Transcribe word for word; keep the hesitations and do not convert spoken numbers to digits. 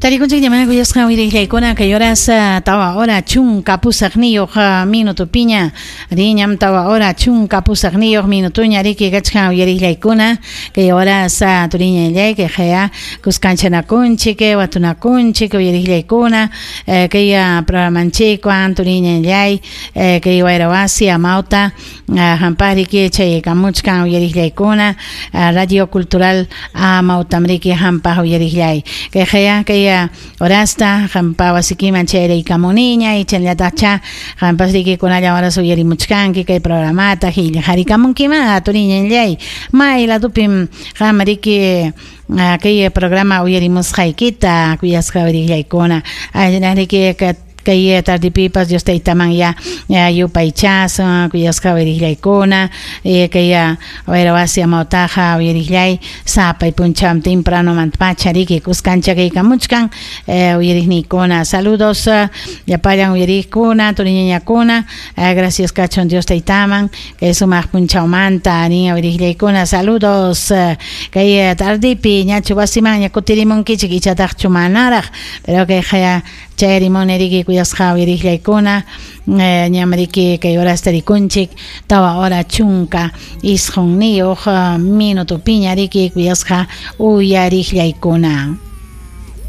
Tarikunchik ñamana kuyasqa uyariqllaykuna kay horas tawa hora chunka pusaqniyuq minutupiña riñam tawa hora chunka pusaqniyuq minutuña riki kachkan uyariqllaykuna kay horas turiñallay kay qaya kuskanchanakunchik watunakunchik uyariqllaykuna kay programanchikwan turiñallay kay wayrawasi amawta hampariki chaykamuchkan uyariqllaykuna Radio Cultural amawtamriki hampaq uyariqllay kay qaya kay horasta hampa wasikiman chayraykamuniña ichanllatacha hampas riki kunalla horas uyarimuchkanki kay programata hillharikamunkima turiñallay may ladupim qam riki kay programa uyarimusqaykita kuyasqa uyariqllaykuna riki kay tardipipas Dios taytaman ya yupaychasun kuyasqa uyariqllaykuna kay wayrawasi amawtaqa uyariqllay sapay punchaw temprano mantapacha riki kuskancha kaykamuchkan uyariqniykuna. Saludos llapallan uyariqkuna turiñañakuna, gracias kachun Dios taytaman kay sumaq punchawmanta nin uyariqllaykuna. Saludos kay tardipi ñachu wasimanña kutirimunkichik ichataqchu manaraq, pero kay qaya chayrimuni riki kuyasqa uyariqllaykuna ñamriki kay horasta rikunchik tawa hora chunka isqunniyuq minutupiña riki kuyasqa uyariqllaykuna.